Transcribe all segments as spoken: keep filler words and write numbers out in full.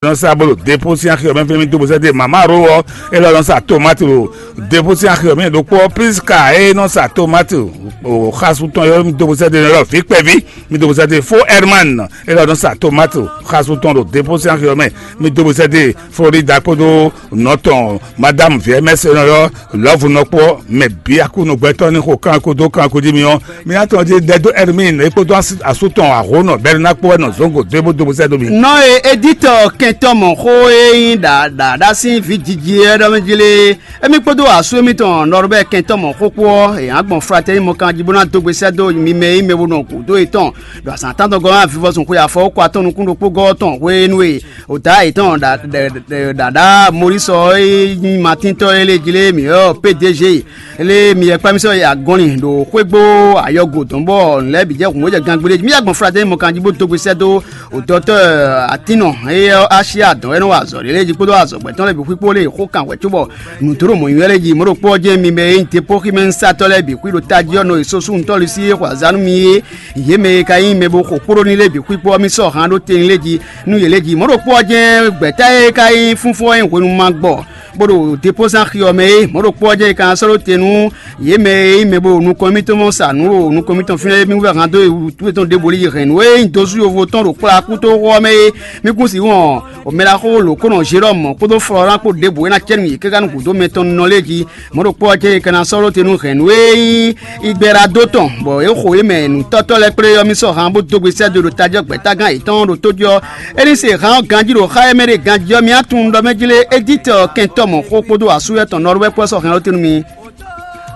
nɔ sa bolo depo sín axi ɔ́ mɛ fí mi dó bó sɛ́ dé mama ro ɔ́, é lɔ nɔ sa tomati lo depo sín axi ɔ́ mɛ ɖokpó ɔ́, Priska é nɔ sa tomati o xasu tɔn yɔ mi dó bó sɛ́ dé lɔ vi kpɛví mi dó bó sɛ́ dé fo Herman é lɔ nɔ sa tomati o xasu tɔn ɖo depo sín axi ɔ́ mɛ mi dó bó sɛ́ dé Florida kpódó nɔ tɔn madame viɛmɛsɛ nɔ yɔ lɔvu nɔ kpɔ mɛ bia kú nɔ gbɛtɔ ní xo kan kó dó kan kó dí mi ɔ́, mi ná tɔn dí dɛ dó Hermine é kpódó asú tɔn ahó nɔ bɛ́ ná kpó wɛ nɔ zɔn go dó é bó dó bó sɛ́ dó mi. Nɔ e Editɔ kɛntɔ́ mɔ̌ xó e nyí ɖaɖaɖa sín vǐ jiji é ɖɔ mɛ jí lé, émí kpódó asú émítɔn Nɔrubɛ́ kɛntɔ́ mɔ̌ xó kpó ɔ́, è nǎ gbɔn fratɛ́ni mɔkan jí bó ná dó gbe sɛ́ dó mi mɛ e nyí mɛ bo nɔ gǔdo yětɔn ɖo azǎn tántɔn gɔ́ ná vivɔzun xwe afɔ kó atɔn nukún ɖokpó gɔ́ tɔn hwenu e Ota yětɔn ɖaɖa Mɔlísɔ e nyí Matíntɔ́ é lé jí lé mǐ ɔ́ P D G lé mi yɛ kpá mì sɔ́ yi agɔnlin ɖo xwégbó ayɔgo dɔn bɔ nǔ lɛ́ɛ bǐ jɛ hǔn bó jɛ gangbé lé jí. Mì yá gbɔn Flatɛ́ni mɔkan jí bó dó gbe sɛ́ dó dɔtɔ́ Atínnɔ éyɛ́ ɔ́ Asyá dɔn é nɔ wa azɔ̌ ɖé lé jí kpódó azɔ̌gbɛ́tɔ́ lɛ́ɛ bǐ xwíkpó lé xó kan wɛ̌ cóbɔ nǔdó mɔ̌nyínyɔ́ lɛ́ɛ jí. Mɔ̌ ɖokpó ɔ́ jɛ́n mi mɛ e nyí depóxímɛnúsatɔ́ lɛ́ɛ bǐ xwí ɖo tají ɔ́ nɔ yi sosúnutɔ́ Lusi e xɔ azǎn nú mi é. Yě mɛ e ka nyí mɛ bo xo kpló ní lé bǐ xwíkpó ɔ́, mì sɔ́ han ɖó tɛn lé jí nú yě lé jí. Mɔ̌ ɖokpó ɔ́ jɛ́n gbɛ̌ta e ka nyí fúnfún ɔ́ nyí hwenu ma gbɔ, bó ɖo depózán xi ɔ́ mɛ é. Mɔ̌ ɖokpó ɔ́ jɛ́n è ka ná sɔ́ ɖó te nú yě mɛ e nyí mɛ bo ɖo nukɔn mitɔn mɔ sa nǔ ɖo nukɔn mitɔn fínɛ́ é. Mì wú vɛ́ han dó tɔn ɖěbǔ lí hɛ̌nnu e nyí dozú yovo tɔn ɖo kplá kúto xó ɔ́ mɛ é. Mì kún sixú ɔ́ mɛ ɖaxó lǒ kó nɔ Jelɔ́mu kpódó Flɔ́ran kpó ɖěbǔ e ná cɛ nú yě káká nú gǔdo mɛtɔn nɔ lé jí. Mɔ̌ ɖokpó ɔ́ jɛ́n è ka ná sɔ́ ɖó te nú hɛ̌nnu e nyí Igbɛ́ɖadó tɔn, bɔ é xo yě mɛ nǔtɔ́tɔ́ lɛ́ɛ kplé ɔ́, mì sɔ́ han bó dó gbe sɛ́ dó ɖo tají ɔ́ gbɛ̌tágán yětɔn ɖo tó jí ɔ́. É ní se han ɔ́ ganjí ɖo xá e mɛ ɖe ganjí ɔ́, mì á tunwun ɖɔ mɛ jlé Editɔ kɛntɔ́ mɔ̌ xó kpódó asúyɛ́ tɔn Nɔrúwɛ́ kpó ɔ́ sɔ́ hɛn ɔ́ te nú mi.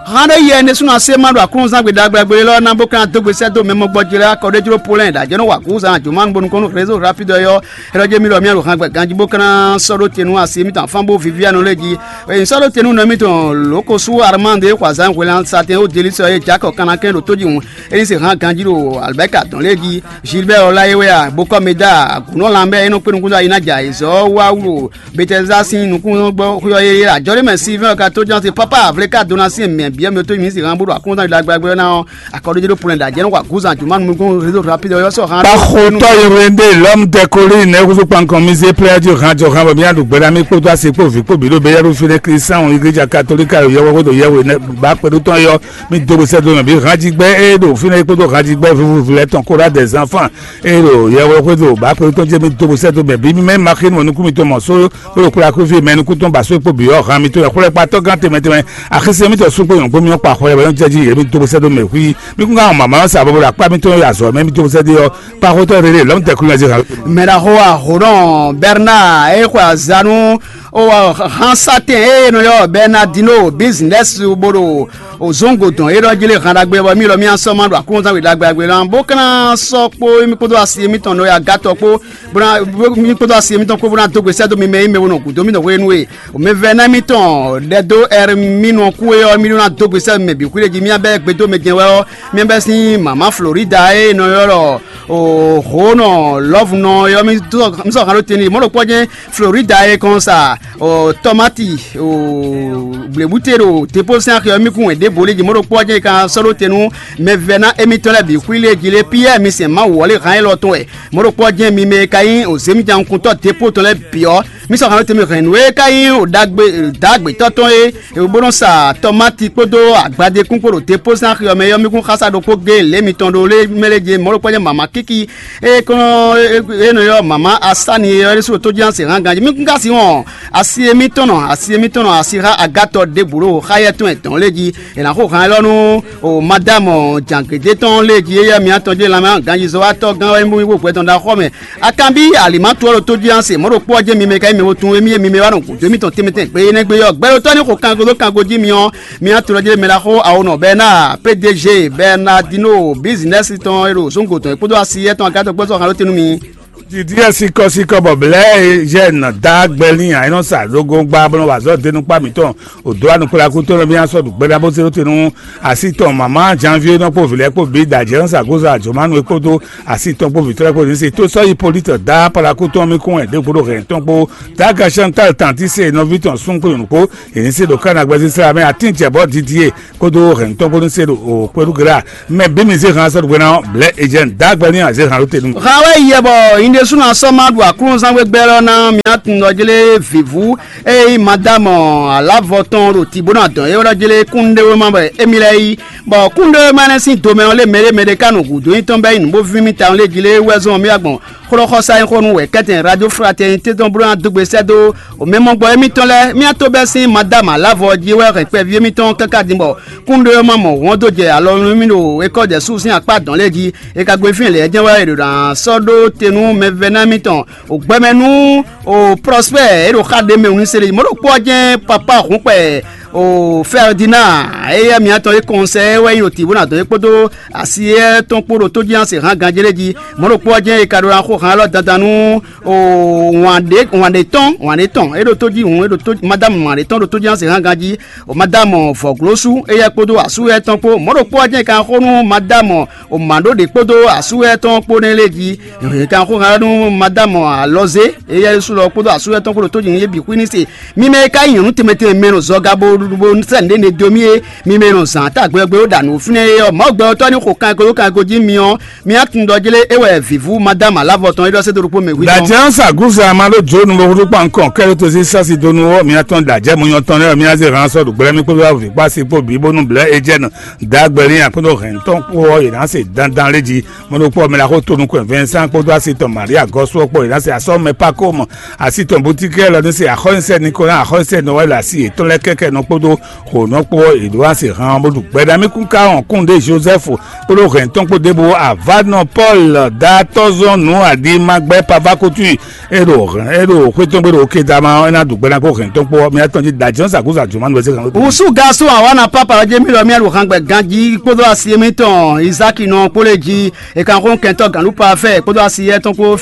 Han ɖé yɛ ɖésúnɔ asé ma ɖo aklúnɔzán gbe ɖagbe ɖagbe élɔ́ ná bó ka ná dó gbe sɛ́ dó mɛ mɔgbɔjí lɛ́ɛ akɔ ɖé jló Polɛ́ɛ ɖo ajɛ̌ nɔ wa gǔzan ajǒ ma nu bónú kɔn nú rézo rapide ɔ́ yɔ. Ɛlɔ jɛ mi ɖɔ mi ɖo han gbɛ ganjí bó ka ná sɔ́ ɖó te nú asi mitɔn afán bó Viviane lɛ́ɛ jí. Ényí sɔ́ ɖó te nú nɔ mitɔn lǒkosú Armande e xɔ azǎn hwelɛ́nsan tɛn ó Delísɔ e Jakɔ kanakɛn ɖo tójihún é ní se hán ganjí ɖo Albɛ́ka dɔn lɛ́ɛ jí. Gilbɛ́ Ɔláyéwéa, Bokɔ́meda, Agunɔ́ Lanbɛ́ e nɔ kpé nukúnzɔ́ ayi ná jɛ ayǐzɔ́ wá wú ɖo Betɛzá sín nukúngbɔ́xwé ɔ́ yéyé ajɔ̌ ɖé mɛ Silvɛ́n ka tó ján te pápá Avléka Donasín mɛ bǐ ɔ́ mi tó mi se hán bó ɖo akúnzán ɖagbe ɔ́ ná ɔ́, akɔɖójé ɖó polɛ ɖajɛ nɔ wa gǔzan juma nukún réseau rapide ɔ́ sɔ hán. Kpaxotɔ Irene de l'homme de colline ekusu kpankɔn mi zé plɛ jú hàn jɔ hàn bɔ mi aɖu gbɛɖa mi kpódó asi kpó vi kpó bi ɖó bɛ yɛɖu fi ɖe kristian iglesia katolika yɔ yɛwɔ kódó yɛwɔ ne ba kpɛɖu tɔn yɔ mi do bó sɛ do mɛ bi hàn jí gbɛ eye ɖo fi ne kpódó hàn jí gbɛ vivu vi lɛ tɔn kóra des enfants eye ɖo yɛwɔ kódó ba kpɛɖu tɔn jɛ mi do bó sɛ do mɛ bi mi mɛ ma xi nu nukún mi tɔn mɔ so kpódó kpódó akúvi mɛ nukún tɔn ba so kpó bi yɔ hàn mi tɔn yɔ kpódó kpatɔ gán tɛmɛ tɛmɛ axisi mi tɔ sukpó yɔn gbó mi kpa xɔ yɛ bɛ yɔn jɛ jí yɛ mi do bó sɛ do mɛ hui mi kún ká mama sa bó bó la kpá mi tɔn yɔ azɔ mɛ mi do bó sɛ do yɔ Kpaxotɔ rere lɔmtɛkulu nya zixan. Mɛɖaxó Ahonɔ Bɛrna e xwe azanu o hansatɛn e nɔ yɔ Bɛnadino bizinɛsi bo ɖo ozongo dɔn e ɖɔ jí lé han ɖagbe bɔ mí lɔ mí asɔ ma ɖo aklúnɔzán we ɖagbe ɖagbe lan bó ka ná sɔ kpó mí kpódó asi mítɔn nɔ ya gátɔ kpó bó ná mí kpódó asi mítɔn kpó bó ná dó gbe sɛ́ dó mi mɛ e mɛ bo nɔ gǔdo mí nɔ hwenu e mɛvɛ́ná mítɔn ɖɛ dó Ɛrmínɔ kú é ɔ́ mí ɖó ná dó gbe sɛ́ mɛ bǐ xwíɖé jí mí abɛ gbedó mɛ jɛn wɛ ɔ́. Mímɛ́ sín mama Florida e nɔ ylɔ́ ɖɔ Hǒnɔ Lɔ́vunɔ ɔ́, mi sɔ́ han ɖó te n'i. Mɔ̌ ɖokpó ɔ́ jɛ́n Florida e kɔn sa tɔmáti blěbúte ɖo depósɛn axi ɔ́, mì kún wɛn ɖěbǔ lé jí. Mɔ̌ ɖokpó ɔ́ jɛ́n è ka sɔ́ ɖó te nú mɛvɛ́ná émítɔn lɛ́ɛ bǐ xwí lé jí lé. Piyɛ́ɛ mi sɛn Mawu ɔ́ lé han élɔ́ tɔn wɛ. Mɔ̌ ɖokpó ɔ́ jɛ́n mi mɛ e ka nyí zěmijǎnukúntɔ́ depó tɔn lɛ́ɛ bǐ ɔ́, mì sɔ́ han ɖó te mì hɛn nǔ e ka nyí ɖagbe dǎgbetɔ́ tɔn é, bó nɔ sa tɔmáti kpódó agbadékún kpó ɖo depósɛn axi ɔ́ mɛ ɔ́, mì kún xása ɖokpó géé lě mitɔn ɖó lé mɛ lé jɛ mɔ̌ ɖokpó jɛ mama kíki e kɔn e nɔ ylɔ́ mama Asani é ɔ́ ɖésú ɖo tójí ɔ́ se hán ganjí. Mì kún ka si wɔn asi émítɔn nɔ asi émítɔn nɔ asi xá agatɔ ɖěbǔ ɖo xá yɛ tɔn ɛtɔn lé jí. È nǎ xo han élɔ́ nú o madámɔ jǎngédé tɔn lé jí éyɛ́ miatɔn jɛ lanmɛ ganjízɔ́watɔ́ gán wɛ mì bó gbɛtɔn ɖo axɔ́ mɛ. Akanbi alimatu ɔ́ ɖo tójí ɔ́ se mɔ̌ ɖokpó ɔ́ jɛ́n mi mɛ ka nyí mɛ wo tunwun émí e mi mɛ wá nɔ gǔdo émítɔn tɛnmɛ tɛnmɛ gbe énɛ́ gbe ɔ́, gbɛ ɖo tɔ́ ní xo kango dó kango jí mi ɔ́, mi ná tlɔ́ jlé mɛ ɖaxó awonɔ Bɛna P D G Bɛnadino bizinɛsi tɔn e ɖo zungo tɔn e kpódó asi yɛ tɔn agatɔ gbɔ́ sɔ́ han ɖó te nú mi. Didi ɛ sikɔsikɔ bɔ blɛ jɛ nɔ da gbɛlin a enɔ sa dogo gba bɔ nɔ wa zɔ denu kpa mitɔn o do anu kpla ku tɔn mi asɔ du gbɛda bó se ɖó te nú asi tɔn mama janvier nɔ kpó vilɛ kpó bi da jɛ nɔ sa gozo ajomanu e kpódó asi tɔn kpó vitɔ kpó ni se tó sɔ yi politɔ da pala ku tɔn mi kún ɛ de kpódó hɛn tɔn kpó da ga Chantal tanti se nɔvi tɔn sun kpó yonu kpó èyí se ɖo kánagbɛzi sira mɛ atin jɛ bɔ didi e kpódó hɛn tɔn kpó ni se ɖo o kpódó gra mɛ bí mi se hàn sɔ do gbɛna blɛ ejɛn da gbɛlin a se hàn ló te nu. Hawe yɛ bɔ Ɖésúnɔ sɔ́ ma ɖu aklúnɔzán gbégbé lɔ ná mǐ atunɖɔjlé vǐvú e nyí Madámɔ Alávɔ tɔn ɖo tǐ bó ná dɔn é wɛ ɖɔjlé kúnnuɖewéma wɛ émí lɛ́ɛ yí, bɔ kúnnuɖewéma énɛ́ sín domɛ ɔ́ lé mɛɖé mɛɖé ká nɔ gǔdo nyí tɔn bɛ́ nyí nǔ bó víví mì tawun lé jí lé wɛ zɔn mì agbɔn xlɔ́xɔsá nyí xó nú wɛ kɛ́tɛn Radio Fraternité tɔn bó ná dó gbe sɛ́ dó mɛmɔgbɔ émítɔn lɛ́ɛ. Mì ato bɛ́ sín Madámɔ Alávɔ jí wɛ hɛn kpɛví émítɔn káká din bɔ kúnnuɖewéma mɔ hɔn dó jɛ alɔ nú mì ɖo ékɔ́ jɛ sú sín akpá dɔn lɛ́ɛ jí. E ka gbe fínɛ́ lɛ́ɛ jɛ́n wɛ è ɖo ná sɔ́ ɖó te nú mɛvɛ́ná mitɔn, o gbɛmɛ nú o Prospère e ɖo xá ɖé mɛ wǔnú se ɖé. Mɔ̌ ɖokpó ɔ́ jɛ́n papa hǔnkpɛ o Ferdinand, éyɛ́ mǐtɔn e kɔnsɛ wɛ nyí ɖo tǐ bó ná dɔn é kpódó asi éyɛ́ tɔn kpó ɖo tójíhán se hán ganjé lɛ́ɛ jí. Mɔ̌ ɖokpó ɔ́ jɛ́n è ka ɖó ná xó hán élɔ́ dandan nú o wǎn ɖé wǎn ɖé tɔn wǎn ɖé tɔn e ɖo tó jí hǔn e ɖo tó madame wǎn ɖé tɔn ɖo tójíhán se hán ganjí. O madame vɔ̌glósú éyɛ́ kpódó asú éyɛ́ tɔn kpó. Mɔ̌ ɖokpó ɔ́ jɛ́n è ka xó nú madame o mǎɖó ɖě kpódó asú éyɛ́ tɔn kpó nɛ́ lɛ́ɛ jí. È ka xó hán nú madame alɔzé éyɛ́ sú lɔ kpódó asú éyɛ́ tɔn kpó ɖo tó jí hǔn yé bǐ xwí ní se. Mi mɛ e ka nyí nyɔ̌nu tɛnmɛ tɛnmɛ mɛ nɔ zɔga bo bo sɛ́ nǔɖé ne dó mì é, mi mɛ nɔ zǎn ta gbɛgbɛ ɖo ɖa nǔ fínɛ́ é ɔ́, Mawu gbɛtɔ́ ní xo kan e ko dó kan e ko jí mi ɔ́, mi á tunwun ɖɔ jlé é wɛ vǐvú Madámu Alavɔ tɔn é ɖɔ sɛ́ dó ɖokpó mɛ hwíjɔ́n. Dajɛn sa gusa ma ɖo jo nu bo ɖokpó ankɔ kɛlɛ to si sasi do nu ɔ, mi atɔn dajɛ mo nyɔ tɔn lɛ mi aze hàn sɔ ɖo gblɛ mi kpódó avi kpó asi kpó bi bónú blɛ ejɛ nɔ dagbɛlin akpódó hɛn tɔn kpó ɔ yě ná se dandan lé jí. Mo ɖokpó ɔmɛ la xó to nukɔn Vincent kpódó asi tɔn Maria gɔsu ɔ kpó yě ná se asɔ mɛ pako mɔ asi tɔn boutique lɔ ní se axɔ́nyisɛ Nicolas axɔ́nyisɛ Noël asi yětɔn lɛ kɛkɛ nɔ kpódó xo nɔ kpó yě ɖó asi hàn bó ɖu gbɛɖa mi kún ka hɔn kún ɖe Joseph kpódó hɛn tɔn kpó ɖěbǔ avanɔ Paul datɔzɔn nǔ aɖi ma gbɛ pava kútui. E ɖo e ɖo xwé tɔn gbe ɖo oke da ma ɔ́, é ná ɖu gbɛ ná kó hɛn tɔn kpó mía tɔn jí da jɔn sa kó sa jɔn ma nɔ se kan. Wusu gasu awa na papa ɔjɛ mi lɔ mía ɖo hàn gbɛ ganji kpódó asi émítɔn Isaki nɔ kpó lé jí. E kan xó kɛntɔ ganlupa fɛ kpódó asi yɛ tɔn kpó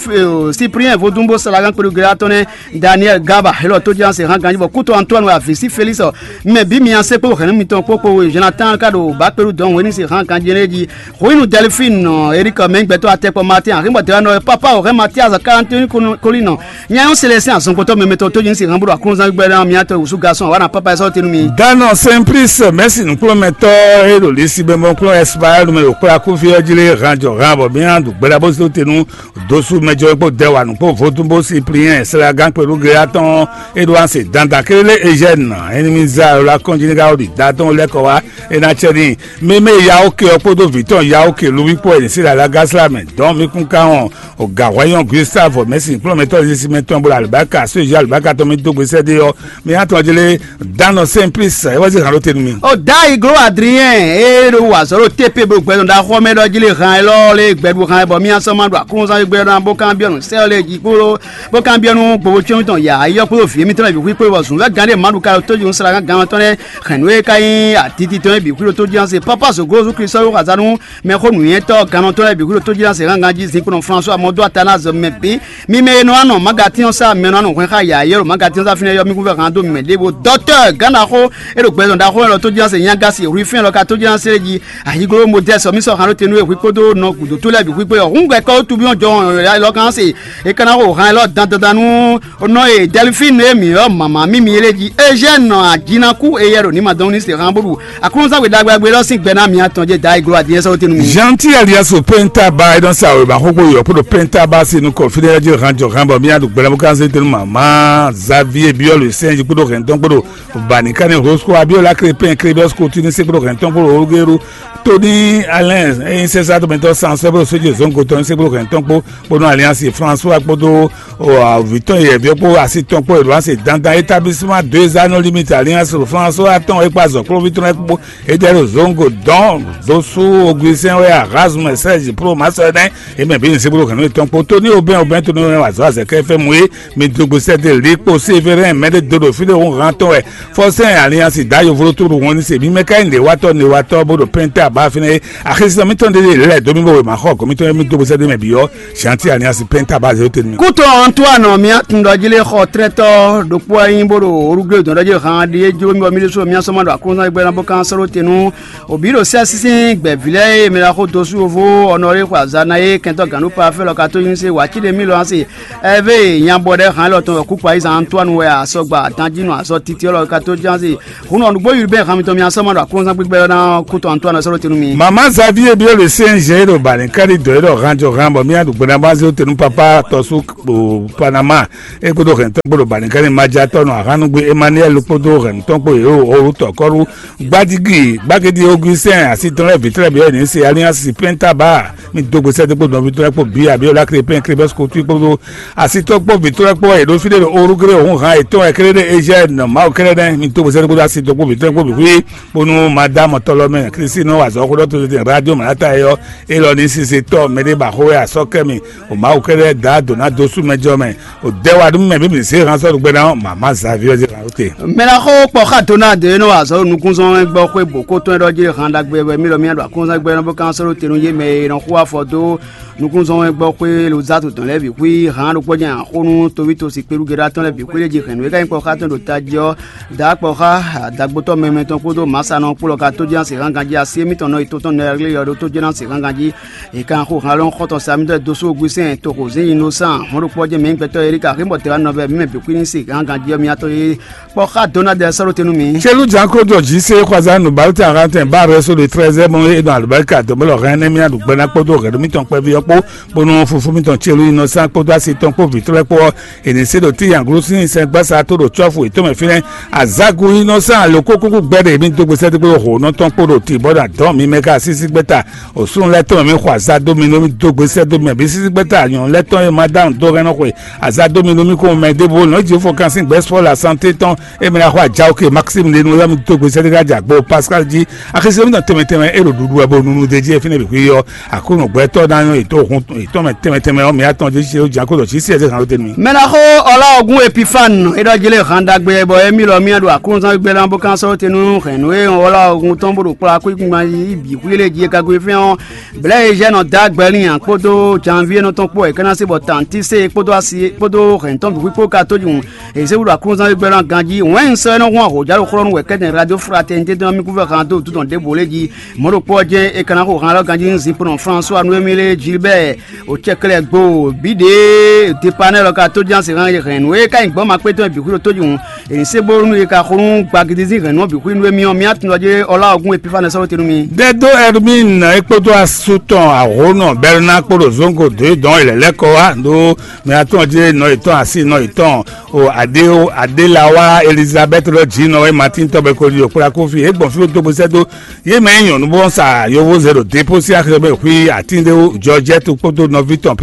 Cyprien vodúnbó salagan kpéɖu gɛlɛ atɔn nɛ Daniel Gaba élɔ tó ján se hàn ganji bɔ kútó Antoine wɛ avisi Félix ɔ mɛ bí mi ase kpó hɛn mitɔn kpó kpó Jonathan ka ɖo bá kpéɖu dɔn wɛni se hàn ganji nɛ jí. Ruinu Delphine nɔ Eric mɛ gbɛtɔ atɛkpɔ Martin ahimbɔ dɛwɛ nɔ papa o hɛn Mathias Quarantine Colin nɔ nyayɔn Célestin azɔngbɔtɔ mɛmɛtɔ tó yin si hàn bolo aklunzan gbɛ na miatɔ wusu garçon awa na papa ɛsɔ tenu mi. Danɔ Simplice mɛsi nukplɔmɛtɔ e ɖo lisi bɛnbɔn kplɔn Espagne mɛ ɖo kpla kúfi ɔ́ jí lé hàn jɔ hàn bɔ mía ɖu gbɛɖa bó zó tenu dósú mɛjɔ kpó dɛwanu kpó vodún bó Cyprien sɛlagán kpɛlú gléyatɔn e ɖo anse dandan kélé Eugène ennemi za la kɔnjiniga ɔ́ ɖi da tɔn lɛkɔ wá e ná cɛ ní. Meme yawo ke ɔ kpódó vǐ tɔn yawo ke luví kpó ɛnǐ sí lalaga sla mɛ dɔn mi kún ká hɔn o gǎhwɛ́nyɔ́ Gustave mɛ̌si kplɔ́nmɛtɔ́ zisi mɛ tɔn bó alibaka so yí alibaka tɔn mi dó gbe sɛ́ dé ɔ́, mi hán tɔn jlé Danɔ Simplice é wá sí hǎn ɖó te nú mi. O dayi glo Adrien e ɖo wa zɔ ɖo tepe bo gbɛdɔn ɖaxɔ mɛ ɖɔ jí le hàn élɔ́ lé gbɛɖu hàn bɔ mi asɔ ma ɖo aklúnzán gbɛ ɖɔ bó kan biɔ nǔ sɛ ɔ́ lé jí kpó bó kan biɔ nú gbogbo tɔn ya ayɔ kpó vǐ mi tɔn bǐ xwí kpó bɔ zun vɛ gán ɖé ma ɖu ka ɖo tó jí sra gán gán tɔn lɛ hɛn nú e ka nyí atiti tɔn bǐ xwí ɖo tó jí se papa so glo zu Kristo yo xazanu mɛ xó nǔnywɛ́tɔ́ gannɔtɔ́ lɛ́ɛ bǐ xwíɖo tójíɖásɛ gángan jí zinkpo François Mɔdó Atanase mɛ bǐ. Mi mɛ e nɔ wá nɔ Magatíɔn sá mɛ nɔ wá nɔ hwɛn xá yǎyɛ́ ɖo Magatíɔn sá fínɛ́ yɔ mí kún fɛ hán dó mi mɛ ɖěvo dɔtɔ́ gǎn ɖaxó e ɖo gbɛzɔn ɖaxó lɛ́ɛ lɔ tójíɖásɛ nyagasi hwifɛ́n lɔ ka tójíɖásɛ jí. Ayiglo Modɛ́sɔ mí sɔ́ hán ɖó te nú we hwíkpódó nɔ gǔdo tó lɛ́ɛ bǐ hwíkpé ɔ́ hǔn gbɛ kɔ́ wútu mí ɔ́ jɔ lɔ kan se. E ka ná xo hán élɔ́ dandandan nú nɔ e Delphine e mǐ ylɔ́ mama mímí é lé jí Eugène nɔ ajinakú eyɛ ɖo ní ma dɔn ní se hán bó ɖu Aklúnɔzán gbe ɖagbe ɖagbe lɔ sín gbɛ ná mi atɔn jɛ da iglo adiyɛ sɔ́ tenu mi. Gentil alias Penta ba e nɔ sa wěma xóxó yɔ kpódó Penta ba si nukɔn fínɛ́ jí hán jɔ hán bɔ mía ɖo gbɛlɛ́ bó ká zé tenu mama Xavier Biɔlu sɛn jí kpódó hɛn tɔn kpódó Bani Kane Rosco Abiola Crépin Crédos Coutinho se kpódó hɛn tɔn kpódó Olugero Tony Alain eyin sɛsá tɔmɛtɔ san sɛblo sójú zongo tɔn se kpódó hɛn tɔn kpó kpódó Alliance François kpódó vǐtɔn yɛ̌biɔ kpó asi tɔn kpó Edouard se dandan établissement deux anneaux limite Alliance François atɔn e kpó azɔ̌ kplɔ́nví tɔn lɛ́ɛ kpó Edɛ́ ɖo Zongo dɔn Dosu Augustin wɛ Erasme Serge Pro Masɔnɛ emɛ bí nzibúɖo hɛnnu tɔn kpó Tony Aubin Aubin Tony wɛ wazɔ azɛkɛ fɛn mu é mi dogbo sɛdé li kpó Sévérin mɛ ɖé do ɖo fí ɖé hun hàn tɔn wɛ Fɔsɛn Alliance da yovlo tó ɖo wɔn ní se mi mɛ ká nyí newatɔ newatɔ bó ɖo pɛntɛ aba fínɛ é axisina mitɔn ɖé lɛ dó mi bó wɛ ma xɔ gɔmitɔn mi dogbo sɛdé mɛ biyɔ Gentil Alliance pɛntɛ aba zéro tenu mi. Kútɔ Antoine mía tun ɖɔ jí lé xɔ trɛtɔ ɖokpó anyi bó ɖo orúgbé dɔn ɖɔ jí han ɖi é jló mi bɔ mi ɖésú mía sɔmɔ ɖo aklúnɔ gbɛ ná bó kan sɔ́ ɖó te nú òbí ɖo sɛ́ sísín gbɛ̌ví lɛ́ɛ e mi ɖaxó dó sú yovo ɔnɔlé xɔ azǎn ná é kɛntɔ́ gǎn ɖó pa fɛ́ lɔ ka tó nyi se wǎ cí ɖé mí lɔ ná se ɛvé nyabɔ ɖɛ́ han élɔ́ tɔn wɛ kúkú ayízan Antoine wɛ asɔgba danjínɔ azɔ titi élɔ́ ka tó ján se hun nɔ nǔgbó yúɖú bɛn han mitɔn mi asɔ́ ma ɖo aklúnɔzán gbígbɛ ɔ́ ná kútɔ Antoine sɔ́ ɖó Tunu mi. Mama Xavier biɔ le sɛn jɛ ɖo balɛnkari dɔ ɖɔ han jɔ han bɔ mía ɖu gbɛnabazio tenu papa tɔsu o Panama e kpodo hɛntɔ kpodo balɛnkari majatɔ nɔ ahannugbe Emmanuel kpodo hɛntɔ kpo yeo orutɔ kɔru gbadigi gbagidi Augustin asitɔn lɛ vitɛlɛ biɔ ni se Alliance Pintaba mi dogbe sɛde kpo nɔvi tɔn kpo bi abiola krepin krepin skotu kpodo asitɔ kpo vitɔn kpo e ɖo fi ɖe ɖo orugre ohun han etɔn ekele ɖe Eugène mawu kele ɖe mi dogbe sɛde kpodo asitɔ kpo vitɔn kpo bi hui bónú madame tɔlɔmɛ Kristi nɔ wa azɔ̌ xó ɖɔ tó tete radio mlata yɔ élɔ́ ní sise tɔ́ mɛɖé ba xó wɛ asɔ́ kɛ mi o Mawu kɛ́ɖɛ́ da dǒ ná dó sú mɛ jɔ mɛ o dɛ wa nú mɛ bí mi zé han sɔ́ ɖo gbɛ́ ná ɔ́ mama Xavier zé han te. Mɛ ná xó kpɔ xá Donald e nɔ wa azɔ̌ ɖo nukúnzɔ́n gbɔ xwé bǒ kó tɔn e ɖɔ jí han ɖagbe wɛ mí lɔ mí ɖo akɔnzán gbɛ nɔ bó kán sɔ́ ɖo te nú yé mɛ e nɔ xó afɔ dó nukúnzɔ́n wɛn gbɔ xwé Lozatu tɔn lɛ́ɛ bǐ xwí hǎn ɖokpó jɛ́n axó nú toví tosi kpéɖúgɛ́ɖá tɔn lɛ́ɛ bǐ xwé lé jí hɛ̌nnu e ka nyí kpɔ́ xá tɔn ɖo tají ɔ́, dǎ kpɔ́ xá dagbotɔ́ mɛmɛ tɔn kpódó mǎsanɔ kpó lɔ ka tó jɛ́n asi hángan jí así émítɔn nɔ yi tɔn tɔn nɔ yɛglé yɔ ɖó tó jɛ́n asi hángan jí. È ka xó hǎn lɔn xɔ́ntɔn sa mitɔ́ dó sú Ogwísɛn toxo zǐn yi nɔ sán hɔn ɖokpó jɛ́n mɛ nyí gbɛtɔ́ Erika xí bɔ tɛ́ wá nɔ vɛ mǐ mɛ bǐ xwí ní si hángan jí ɔ́ mì atɔn yé kpɔ́ xá Donald sɔ́ ɖó te nú mì. Celu jǎn kó jɔ jí sé xwazán nǔbáwí tɛn ahan tɛn bá rɛ́ sódò trɛ́zɛ́ mɔ é nɔ alɔbáríkà dɔ̌nbɔ́lɔ hɛn énɛ́ mì aɖu gbɛ́ ná kpódó hɛ̌nnu mítɔn kpɛví ɔ́ kpó bónú fofó mítɔn Celu yi nɔ sán kpódó asi tɔn kpó vǐ tɔn lɛ́ɛ kpó ɔ́, è nǐ se ɖo tíi nyaglosín sɛngbásá tó ɖo cɔ́fu yětɔn mɛ fínɛ́. Azǎgu yi nɔ sán alǒkókúkú gbɛ́ ɖe mì dó gbesɛ́ dó kpódó hǒnɔ tɔn kpó ɖo tibɔ́ ɖo adɔ̌ mi mɛ ká sísí gbɛ́ta. Òsúnú lɛ́ɛ tɔn mɛ mi xɔ azá dó mi nú mì dó gbesɛ́ dó mɛ bǐ sísí gbɛ́ta nyɔ̌nu lɛ́ɛ tɔn e ma dá nǔ dó hɛn nɔ xwe azá dó mi nú mì kún mɛ ɖěvo nɔ Jezu fɔ kan sín gbɛ́ spɔ́ la santé tɔn e mɛ ná xɔ ajá oke Maxime lenu ɔ́ mi dó gbesɛ ɖé ká jɛ agbo Pascal jí. Axézé mi tɔn tɛnmɛ tɛnmɛ e ɖo ɖuɖu wɛ bo nunu ɖe jí e fínɛ́ bǐ xwí ɔ́, Aklúnɔ gbɛtɔ́ ná nyɔ́ yětɔn hun yětɔn mɛ tɛnmɛ tɛnmɛ ɔ́ mi atɔn jí ṣe ó jǎn kó ɖɔ jí sí ɛsɛ hàn ló tɛnu mì. Mɛ ná xó ɔlá ɔgún Epifane é ɖɔ jí lé hǎn ɖagbe bɔ émí lɔ mì ɖo Aklúnɔ gbé ná bó kán sɔ́ tenu hɛ̌nnu e ɔlá ɔgún tɔn bó ɖo kplá kú gbígbá yí bǐ xwí lé jí e ka gbe fɛ́n ɔ́. Blɛ̌ e jɛ nɔ dó agbɛ n'i ǎ kpódó janvié nɔ tɔn kpó wɛ é ka ná se bɔ tantise kpódó asi kpódó hɛ̌ntɔn bǐ kpó ka tójúhun. È zé wú ɖo aklúnɔzán gbɛ́gbɛ́ ná ganjí wɛ̌n sɔ́ é nɔ hun ahǒjǎ ɖo xlɔ́ nú wɛ kɛ́tɛn radio fraternité tɔn mì kúvɛ́ han dó wútu tɔn ɖěbǔ lé jí. Mɔ̌ ɖokpó ɔ́ jɛ́n è ka ná xo han élɔ́ ganjí nú Zinplɔ́n François Noémie lé Gilbert Ocɛklɛgbo bǐɖée Depanɛ́ lɔ ka tóján se hɛn hɛn nǔ e ka nyí gbɔn ma kpé tɔn bǐ xwí ɖo tójúhun. È nǐ se bónú è ka xo nú gbagidizín hɛ̌nnu ɔ́ bǐ xwí nú émí ɔ́, mì atún ɖɔ jɛ́n Ɔlá ɔ́gún Epifane sɔ́ ɖó te nú mi. Dɛdó Hermine é kpódó asú tɔn ahǒnɔ Bɛrná kpó ɖo zóngo dǒ dɔn é lɛ̌lɛ́ kɔ wá ɖó mɛ atɔn jí nɔ yětɔn asi nɔ yětɔn o aɖé aɖélawa Elizabɛ́t lɔ jǐ nɔ wɛ Matín tɔn bɛ ko ɖi ɖo kplá kó fí é gbɔn fí dó bó sɛ́ dó yé mɛ nyí nyɔ̌nu bó sá yovóze ɖo dépó sín axi mɛ xwí atín ɖé wú Jɔjɛ́tu kpódó nɔví tɔn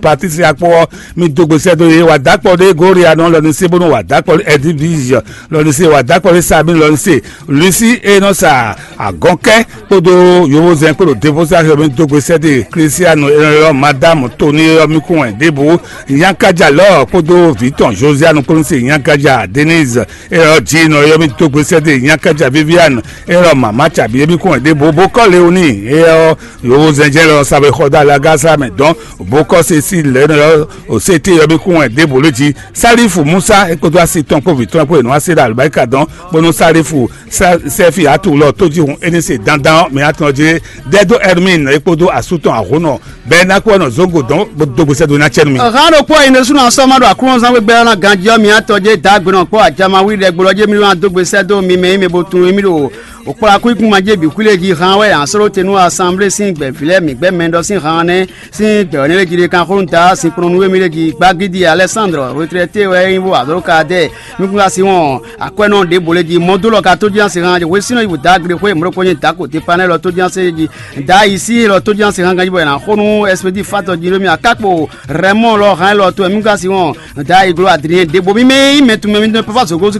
Patricia kpó ɔ́ mi dó gbe sɛ́ dó yé wà dákpɔ ɖé Gorianɔ lɔ ní sí bónú wà dákpɔ ɖé Ɛdivizɔ lɔ ní sí wà dákpɔ ɖé Sami lɔ ní sí Lusi e nɔ sa agɔnkɛ kpódó yovózɛn kpódó devosa xɛ mi dó gbe sɛ́ dó Kristiano e nɔ ylɔ́ Madamu Toni e ylɔ́ mi kún wɛ ɖěbǔ Nyankaja lɔ kpódó vǐ tɔn Josianu kpó ní se Nyankaja Denise e ylɔ́ Dzinɔ e ylɔ́ mi dó gbe sɛ́ dó Nyankaja Viviane e ylɔ́ mama Cabi e mi kún wɛ ɖěbǔ bó kɔ́ Leoni e ylɔ́ yovózɛn jɛ lɔ sa bó xɔ dó alaga sá mɛ dɔn bó kɔ́ se sí lɛ̌ nɔ ylɔ́ Osete ylɔ́ mi kún wɛ ɖěbǔ lé jí Salifu Musa e kpódó asi tɔn kpó vǐ tɔn kpó e nɔ wá se ɖo alɔbáríka dɔn bónú Salifu sɛ́fi atu lɔ tó jí hun é ní se dandan ɔ́ mi atɔn jí dɛdó Hermine e kpódó asú tɔn ahónɔ bɛɛ ná kpó nɔ zógo dɔn bó dó gbèsè dó ná cɛnu mi. Hán ɖokpó ɔ́ yi nɛsúnɔ sɔ́ ma ɖo aklúnɔzán gbégbé ɔ́ ná ganjí ɔ́ mi atɔn jɛ dǎ gbe nɔ kpɔ́ ajama wí ɖɛ gbolɔ jɛ mi wá dó gbèsè dó mi mɛ yi mɛ bó tunwun émí ɖo òkplakú ikún ma jɛ bǐ xwí lé jí hán wɛ asɔ́ɖó te nú asanblé sín gbɛ̌ví lɛ́ɛ mǐ gbɛ́ mɛ ɖɔ sín hán nɛ́ sín gbɛ̌ ɔ́ nɛ́ lé jí ɖé kan xó nú da sinkplɔ́n nú émí lé jí gbagídi Alɛsándrɔ retrɛté wɛ é nyí bó azɔ̌ ka dɛ nukúnɖó asi wɔn akwɛ́nɔ ɖěbǔ lé jí mɔdó lɔ ka tó jí asi hán hwesínɔ yi wǔ dá gbe xwé mɔ̌ ɖokpó nyí dǎko Tepanɛ́ lɔ tó jí asi jí da yi sí lɔ tó jí asi hán ganjí bɔ è nǎ xó nú ɛspédi fatɔ jí ɖó mì akákpo Rɛmɔ́ɔ lɔ hán lɔ tó ɛmí ka si wɔn da yi gló Adriɛn ɖěbǔ mì mɛ nyí mɛ tunmɛ mì tɔn papa zogo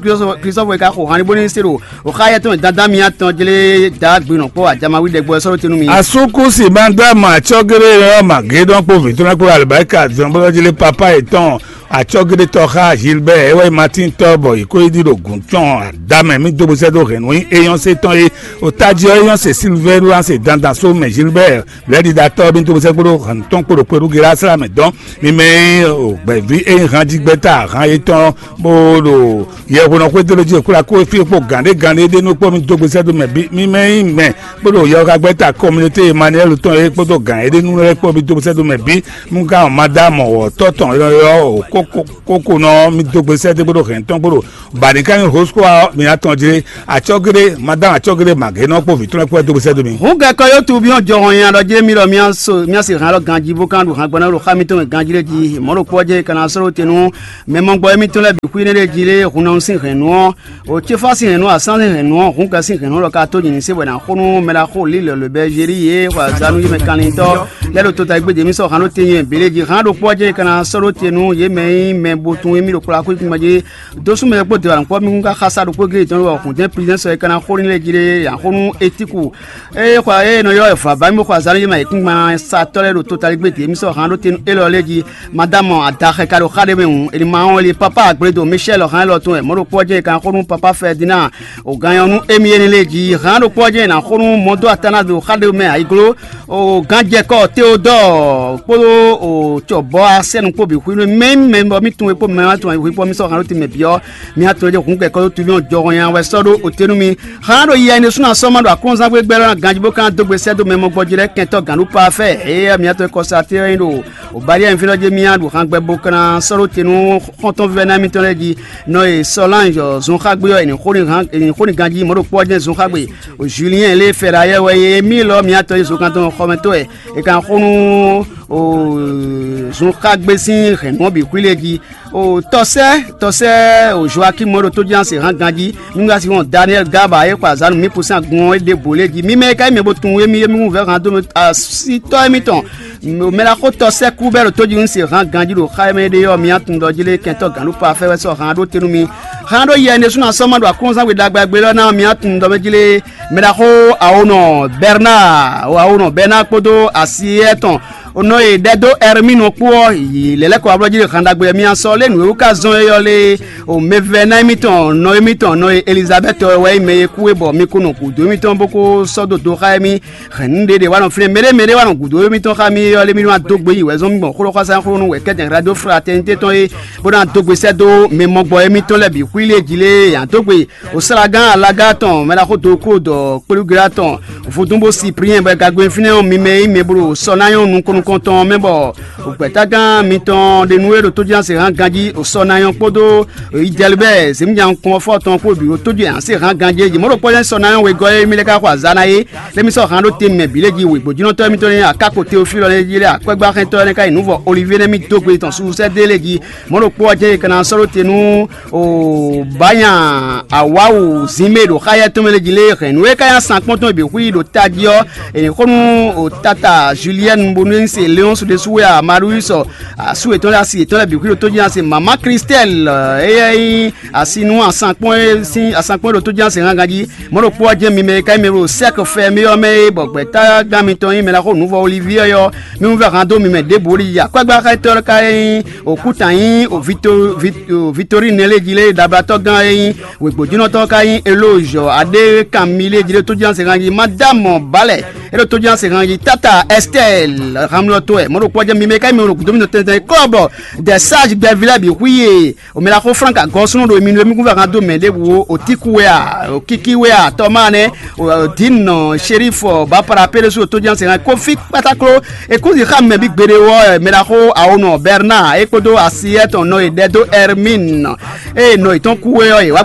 Kristofu e ka xo hán ní bó ní se ɖo o xa yɛ tɔn dandan mi atɔn jlé da gbe nɔ kpɔ ajama wi ɖɛ gbɔ sɔ́ ɖó tenu mi. Asúkúsi Mandama Cɔgere Rɔma Gédɔn kpó vǐtɔ́nà kpó Alibarika zɔn bó jlé papa yětɔn Acɔgedetɔ xá Gilbert é wɛ Martin tɔ bɔ yě ko yi ɖi ɖo gǔn tɔn adamɛ mì dó bó sɛ́ dó hɛ̌nnu nyí éyɔ́n se tɔn é. O tají ɔ́ éyɔ́n se Silvɛ́ru se dandan só mɛ Gilbert lɛ́ɖiɖatɔ́ mì dó bó sɛ́ kpódó hɛ̌nnu tɔn kpódó kpéɖú Gelasla mɛ dɔn. Mi mɛ nyí o gbɛ̌ví é nyí hanjígbɛ́ta han yětɔn bó ɖo yɛhwenɔ xwédó ló jí kplá kó fí kpó gǎn ɖé gǎn ɖé ɖé nú kpó mì dó bó sɛ́ dó mɛ bí mi mɛ nyí mɛ kpódó yɔ́ xá gbɛ́ta kɔminoté Emmanuel tɔn é kpódó gǎn é ɖé nú lɛ́ kpó mì dó bó sɛ́ dó mɛ bí. Nú gán ɔ́ ma dá mɔ̌ wɔ̌tɔ́ tɔn ylɔ́ylɔ́ o kó kókó nɔ mi dó gbe sɛ́ dó gbódò hɛn tɔn gbódò bani ká nyí hosko mi atɔn jlé, atsɔgéɖé madame atsɔgéɖé magénɔ kpó vǐ tɔn kpó dó gbe sɛ́ dó mi. Hǔn gɛkɔ yótu bí ɔn jɔhɔn nya ɖɔ jlé mi ɖɔ mía se hɛn alɔ ganjí bó kan ɖo hǎngbɔ́ ná ɖo xá mitɔn mɛ ganjí lé jí mɔ̌ ɖo kpɔ́ jɛ kana sɔ́ ɖó te nú mɛ mɔgbɔ émítɔn lɛ́ɛ bǐ xwí énɛ́ ɖé jí lé hun ná sín hɛ̌nnu ɔ́. O céfá sín hɛ̌nnu, asán sín hɛ̌nnu ɔ́, hǔn ka sín hɛ̌nnu lɔ ka tó nyi ní se bɔ è nǎ xo nú mɛ ɖaxó Lǐlɔ le Bɛzeli yě xɔ azǎn nú yě mɛ kanlintɔ́ lɛ́ ɖo tota e gbé jě mì sɔ́ han ɖó te nyɛ bě lé jí. Hǎn ɖokpó ɔ́ jɛ́n è ka ná sɔ́ ɖó te nú yě mɛ e nyí mɛ bo tunwun émí ɖo kplɔ́ xwé kún jí dó sú mɛ kpó dewanukpɔ́ mì kún ka xá sá ɖokpó géé tɔn wɔ hǔn jɛ́n Plizɛ́n sɔ é ka ná xo n'i lɛ́ jí lé. Yě ná xo nú Etíku ée xɔ ée nɔ ylɔ́ wɛ vǎ bá mì bó xɔ azǎn nú yě mɛ ayǐkúngban satɔ́ lɛ́ɛ ɖo tota e gbé dě mì sɔ́ han ɖó te nú élɔ́ lɛ́ jí. Madame adaxɛ ka ɖo xá ɖé mɛ hǔn, è nǐ ma wɔn li papá Agbledo Michel hǎn élɔ́ tɔn wɛ mɔ̌ ɖokpó ɔ́ jɛ́n è ka ná xo nú papá Ferdinand. O gan nyɔ nú émí énɛ́ lɛ́ɛ jí. Hǎn ɖokpó ɔ́ jɛ́n è nǎ xo nú mɔdó Atanado xá ɖé mɛ ayiglo. O gánjɛkɔ Teodɔɔ kpódó o cɔbɔ asɛnu kpó bǐ xwínu mɛ mɛ bɔ mì tunwun e kpó mɛ ma tunwun ayihwípɔ mì sɔ́ hǎn ɖó te mɛ bǐ ɔ́. Mi atɔn jɛ hǔn kɛkɔ dó tuví ɔ́ jɔhɔn nya wɛ sɔ́ ɖó o te nú mi. Hǎn ɖo yɛ ne súnnu asɔ́ ma ɖo aklúnzán gbégbé lɔ ná ganjí bó ka ná dó gbe sɛ́ dó mɛ mɔgbɔjí lɛ́ɛ kɛntɔ́ gǎn ɖó pafɛ́. Éyɛ́ mi atɔn kɔsa te ɔ́ nyí ɖo o Bali ɛnfínɔ jɛ mía ɖo han gbɛ bo kana sɔ́ ɖó te nú xɔ́ntɔn vívɛ́ná mitɔn lɛ́ɛ jí. Nɔ e Sɔlange zun xá gbé ɔ́, è nǐ xo n'i han è nǐ xo n'i ganjí mɔ̌ ɖo kpɔ́ jɛ́n zun xá gbe. O Julien lé Fɛlayɛ wɛ e mí lɔ mǐtɔn e zokantɔn xɔmɛtɔ́ wɛ è kan xo nú o zun xá gbé sín hɛ̌nnu ɔ́ bǐ xwí lɛ́ɛ jí. O tɔsɛ́ tɔsɛ́ o Joakim e ɖo tójínásě hán ganjí. Mí wá sí wɔn Daniɛl Gaba e xɔ azǎn nú mí kún sín agun ɔ́ ɖěbǔ lɛ́ɛ jí. Mí mɛ e ka nyí mɛ bo tunwun émí émí wú vɛ́ han dó mɛ asitɔ́ émítɔn. Mɛ ɖaxó tɔsɛ́ kú bɛ́ ɖo tójínásě hán ganjí ɖo xá e mɛ ɖe ɔ́, mí atundɔ jí lé kɛntɔ́ gǎn ɖó pafɛ́ wɛ sɔ́ han ɖó te nú mí. Han ɖó yɛ ɖésú ná sɔ́ ma ɖo aklúnzán we ɖagbe agbe lɔ ná mí atundɔ mɛ jí lé. Mɛ ɖaxó awonɔ Bernard awonɔ Bernard kpódó asi étɔn nɔ e ɖɛ dó Ɛrmínu kpó ɔ́ yi lɛ̌lɛ́kɔ ablɔ́ jí ɖo han ɖagbe wɛ mí asɔ lé nǔ e wú ka zɔ́n é ɔ́ lé. O mɛvɛ́ná émítɔn nɔ émítɔn nɔ e Elizabɛ́ti ɔ́ wɛ nyí mɛ e kú é bɔ mi ko nɔ gǔdo émítɔn bó kó sɔ́ dó dó xá émí. Hɛ̌nnu ɖé ɖé wá nɔ fínɛ́ mɛɖé mɛɖé wá nɔ gǔdo émítɔn xá mì é ɔ́ lé mí nɔ wá dó gbe yi wɛ̌zɔ́n mì gbɔn xó ɖɔ xwásá xó nú wɛ̌kɛ́tɛn radio fraternité tɔn é bó ná dó gbe sɛ́ dó mɛ mɔgbɔ émítɔn lɛ́ɛ bǐ xwí lé jí lé ǎ dó gbe. O Slágán alaga tɔn mɛ ɖaxó do kó dɔ kplúgla tɔn vodún bó si priɛn bɔ gagbe fínɛ́ ɔ́ mi mɛ yí mɛ blo sɔ ná nyɔ́ nukɔn nukɔntɔn mɛ bɔ gbɛ̌tágán mitɔn ɖe nú é ɖo tójínásé hán ganjí o sɔ ná nyɔ́ kpódó idɛlibɛ zěmíjan kɔn fɔ tɔn kpó bǐ o tójú yǎn sé hán ganjí é jí mɔ̌ ɖo kpɔ́ sɔ ná nyɔ́ wegɔ́ é mi lɛ́ ká xɔ azǎn ná é lé mi sɔ́ hán ɖó te mɛ bǐ lé jí wěgbójúnɔtɔ́ mitɔn ní akáko Teofílɔ lɛ́ɛ jí lé akwɛ́gbáxɛntɔ́ lɛ́ɛ ká yi nǔ vɔ Olivier nɛ́ mì dó gbe tɔn susu sɛ́ dé lé jí mɔ̌ ɖo kpɔ́ jɛ́n é ka ná sɔ́ ɖó te nú o bánya awáwu zínmé ɖo xáyɛ tɔn mɛ lé jí lé hɛn nǔ e ka nyí asán kpɔ́n tɔn e bǐ xwí ɖo tají ɔ́. È nǐ xo nú o tata Julienne bónú é nyí se Léon su ɖésú wɛ a Marius asú yětɔn lɛ́ɛ asi yětɔn lɛ́ɛ bǐ xwí ɖo tójínásé mama Christelle éyɛ́ nyí asi nú asán kpɔ́n é sín asán kpɔ́n é ɖo tójínásé hángan jí. Mɔ̌ ɖokpó ɔ́ jɛ́n mi mɛ e ka nyí mɛ e ɖo sɛ́kɛ fɛ mì ɔ́ mɛ é bɔ gbɛ̌tágán mitɔn nyí mɛ ɖaxó nǔvɔ Olivier ɔ́, mi wú vɛ́ han dó mi mɛ ɖěbǔ ɖi akwɛ́gbáxɛtɔ́ ka nyí òkúta nyí Victorine lé jí lé ɖablatɔ́gán e nyí wěgbójúnɔtɔ́ ka nyí Eloge aɖé kan mi lé jí lé tójínásé hángan jí Madame Balɛ é ɖo tójínásé hángan jí tata Estelle hamlɔtɔ wɛ mɔ̌ ɖokpó ɔ́ jɛ́n mi mɛ e ka nyí mɛ e ɖo gǔdo mitɔn tɛntɛn klɔ́bɔ Dɛsázi gbɛví lɛ́ɛ bǐ xwí e o mɛ ɖaxó Frank agɔ́súnú ɖo mi nú émí kún vɛ hán dó mɛ ɖěbǔ o Otíku wɛ a, o Kíkí wɛ a, Tɔmáa nɛ́, o Dǐnnɔ Sherif Bapara Péɖésú o tójínásé hán Kofi kpátákló. Ekúzi xá mɛ bí gbeɖé wɔ mɛ ɖaxó awonɔ Bernard é kpódó asi étɔn nɔ e ɖɛ dó Hermine ée nɔ yětɔn kú é ɔ́, yě wá